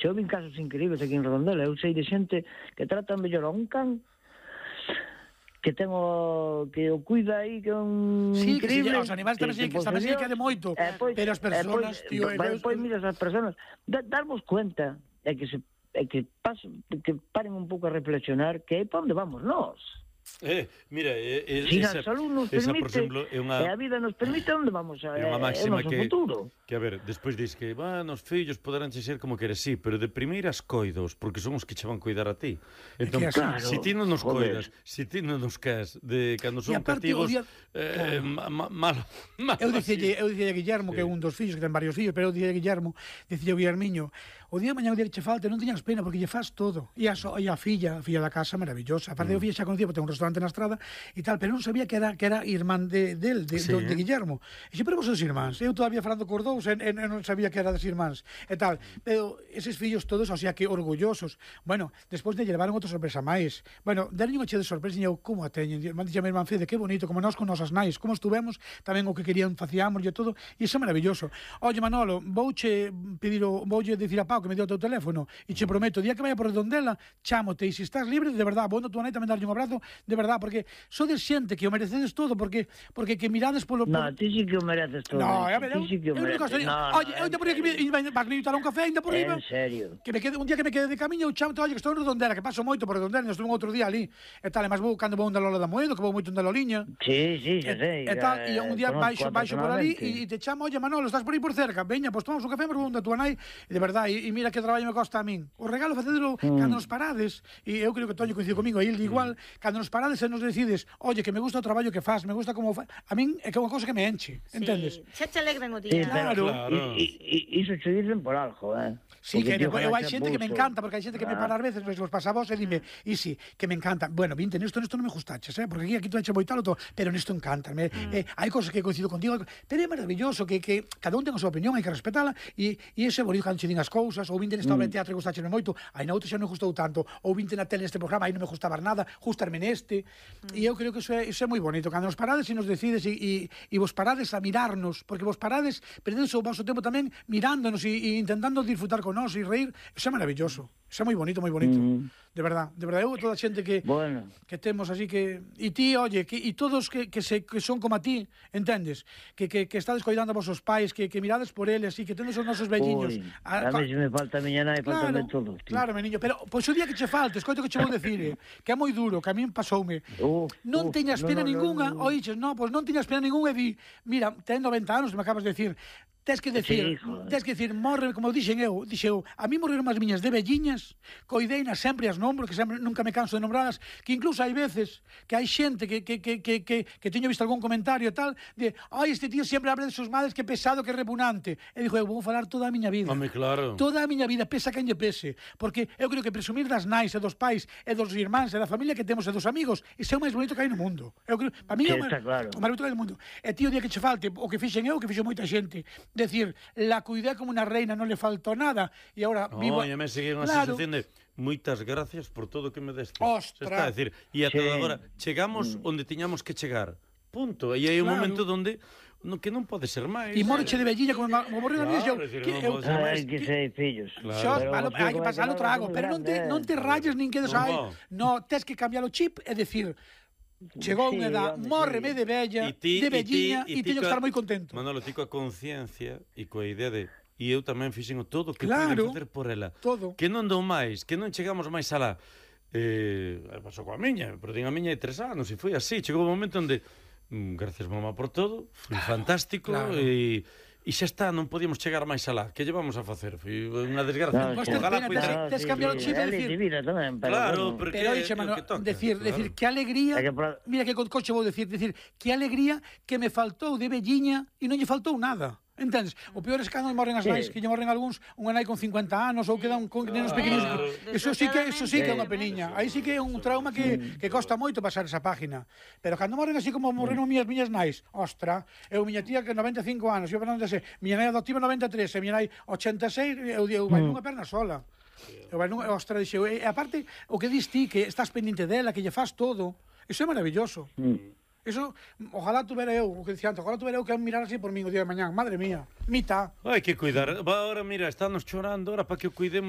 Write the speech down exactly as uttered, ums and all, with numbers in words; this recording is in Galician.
eu vin casos increíbles aquí en Redondela. Eu sei de xente que tratan mellor a un can que ten o que o cuida aí, que é un sí, increíble. Que os animais tamén que, que, tamén se quede moito, eh, pois, pero as persoas, eh, tío, pois, pois mira, as persoas da, darmos cuenta é que se é que pasen, que paren un pouco a reflexionar que aí para onde vamos nós. Eh, mira, eh, eh, si esa, a salud nos esa, permite, por exemplo, é unha, e a vida nos permite, onde vamos a, é unha máxima é o noso que, futuro. Que, a ver, despois dis que, van, os fillos poderán ser como queres, sí, pero de primeiras coidos, porque son os que che van cuidar a ti. Entón, que claro, claro, si ti non nos joder. coidas, si ti non nos queres, de cando son aparte, cativos, día, eh, claro. ma, mal, mal, Eu dicille, eu dicille a Guillermo, sí. que é un dos fillos, que ten varios fillos, pero eu dicille a Guillermo, dicille a Guillermiño, o día de mañá o día que che falte, non teñas pena, porque lle faz todo. E a, so, e a filla, a filla da casa, maravillosa. Aparte, mm. eu filla xa conocía, porque ten un restaurante na estrada, e tal, pero non sabía que era que era irmán de, del, de, sí, de, de eh? Guillermo. E xe, pero vos sois irmáns. Eu todavía falando cos dous, e, e, non sabía que era das irmáns, e tal. Pero eses fillos todos, o sea, que orgullosos. Bueno, despois de lle levaron outra sorpresa máis. Bueno, deron unha che de sorpresa, e eu, como a teñen? Man dixo a mi irmán Fede, que bonito, como nós con nosas nais, como estuvemos, tamén o que querían facíamos e todo, e iso é maravilloso. Oye, Manolo, vouche pedir o, vouche dicir a Pau que me deu o teu teléfono, e che prometo, o día que vaya por Redondela, chámote, e se estás libre, de verdad, vou na tua nai tamén darlle un abrazo, de verdad, porque sodes xente que o merecedes todo, porque porque que mirades polo... No, ti sí que o mereces todo. No, a ver, ti eu, sí que o eu nunca mereces. estoy... No, Oye, no, eu te por aquí, vas me invitar a un café ainda por riba. En serio. Que me quede, un día que me quede de camiño, eu chámote, oye, que estou en Redondela, que paso moito por Redondela, estuve un outro día ali, e tal, e máis vou cando vou onda Lola da Moedo, que vou moito onda Loliña. Sí, sí, xa sei. E tal, e un día baixo, baixo por ali, e te chamo, oye, Manolo, estás por aí por cerca, veña, pois tomamos un café, mas vou onda tua nai, e de verdade, e mira que traballo me costa a min. O regalo facedelo mm. cando nos parades, e eu creo que Toño coincide comigo, e ele igual, mm. cando nos parades e nos decides, oye, que me gusta o traballo que fas, me gusta como fa... a min é que é unha cousa que me enche, sí. Entendes? Xa te alegran o día. Sí, claro. claro. E, e, iso che dicen por algo, eh? Sí, Porque que tío, eu hai ganaxe xente que me pulso. encanta, porque hai xente que me Ah. para ás veces, pois vos pasa a vos e dime, e si, que me encanta. Bueno, vinte, nesto, nesto non me gustaches, eh? Porque aquí, aquí tú eche moitalo todo, pero nesto encántame. Mm. Eh, hai cosas que coincido contigo, pero é maravilloso que, que cada un ten a súa opinión, hai que respetala, e, e ese é bonito cando che din as cousas, ou vinte nesta obra de teatro e gustaxeme moito, aí na outra xa non me gustou tanto, ou vinte na tele neste programa, aí non me gustaba nada, gustarme neste, mm. e eu creo que iso é, iso é moi bonito, cando nos parades e nos decides e, e, e vos parades a mirarnos, porque vos parades, perdedes o vosso tempo tamén mirándonos e, e intentando disfrutar con nós e reír, iso é maravilloso. Iso é moi bonito, moi bonito. Mm. De verdad, de verdad, eu toda a xente que bueno. que temos así que e ti, oye, que e todos que que se que son como a ti, entendes? Que que que estades coidando a vosos pais, que que mirades por eles e que tedes os nosos velliños. Uy, a, a mí se me falta a miña nai, claro, faltame todo, tío. Claro, meniño, pero pois o día que che falte, escoito que che vou decir, eh, que é moi duro, que a min pasoume. Uh, non uh, teñas no, pena no, ningunha, no, no. oíches, no, pois non teñas pena ningunha e di, mira, ten noventa anos, me acabas de decir, tes que decir, sí, tes que decir, morre, como dixen eu, dixeu, a mí morreron as miñas de velliñas, coideinas sempre as nombro, que sempre nunca me canso de nombradas, que incluso hai veces que hai xente que que que que que, que teño visto algún comentario e tal, de, ai, este tío sempre habla de sus madres, que pesado, que repugnante. E dixo, eu vou falar toda a miña vida. Home, claro. Toda a miña vida, pesa quen lle pese, porque eu creo que presumir das nais e dos pais e dos irmáns e da familia que temos e dos amigos, iso é o máis bonito que hai no mundo. Eu creo, para mí Sí, é o máis, está claro. o máis bonito que hai no mundo. E tío, o día que che falte, o que fixen eu, que fixo moita xente, decir, la cuidé como una reina, non le faltó nada, e agora No, vivo... e me sigue unha Claro. sensación de moitas gracias por todo o que me deste. Ostras. Está a decir, e ata Sí. agora chegamos onde tiñamos que chegar. Punto. E hai un Claro. momento onde no, que non pode ser máis. E morche de velliña como, como morreu a mí, Claro, eu, decir, que non eu, pode ser máis. Hai que ser fillos. Claro. Xos, Pero palo, vos hai que como pasalo que trago, non pero non te, grande, non te rayes nin quedes Non aí. va. No, tes que cambiar o chip e decir, chegou Sí, unha edad, home, mórreme sí. de vella, E ti- de e ti- velliña, e e ti teño que coa- estar moi contento. Manolo, ti coa conciencia e coa idea de e eu tamén fixen o todo o que Claro. pude facer por ela. Todo. Que non dou máis, que non chegamos máis alá. Eh, pasou coa miña, pero din a miña de tres anos e foi así. Chegou un momento onde mm, gracias mamá por todo, foi fantástico Claro. e E xa está, non podíamos chegar máis alá. Que llevamos a facer? Foi unha desgracia. No, Vos sí. tes Ojalá pena, puidera- tes- tes cambiar o chip e É decir- de vida tamén, pero Claro, bueno. porque Pero é dixe, o mano, que toca, decir, claro. decir, que alegría, É que pra- mira que con coche vou decir, decir, que alegría que me faltou de velliña e non lle faltou nada. Entendes? O peor é cando morren as Sí. nais, que lle morren algúns, unha nai con cincuenta anos ou quedan con nenos pequeninos. Claro. Eso sí que eso sí que é unha Sí. peniña. Aí sí que é un trauma que que costa moito pasar esa página. Pero cando morren así como morreron miñas miñas nais, ostra, eu miña tía que noventa e cinco anos, eu non sei, miña nai adoptiva noventa e tres, e miña nai ochenta e seis, eu digo, vai nunha perna sola. Eu vai nunha, ostra, dixeu, e aparte o que dis ti que estás pendiente dela, que lle faz todo. Iso é maravilloso. Mm. Eso, ojalá tuvera eu, o que dicía antes, ojalá tuvera eu que mirar así por min o día de mañán. Madre mía, mita. Hai que cuidar. Va, ahora, mira, estános chorando ahora para que o cuidemos.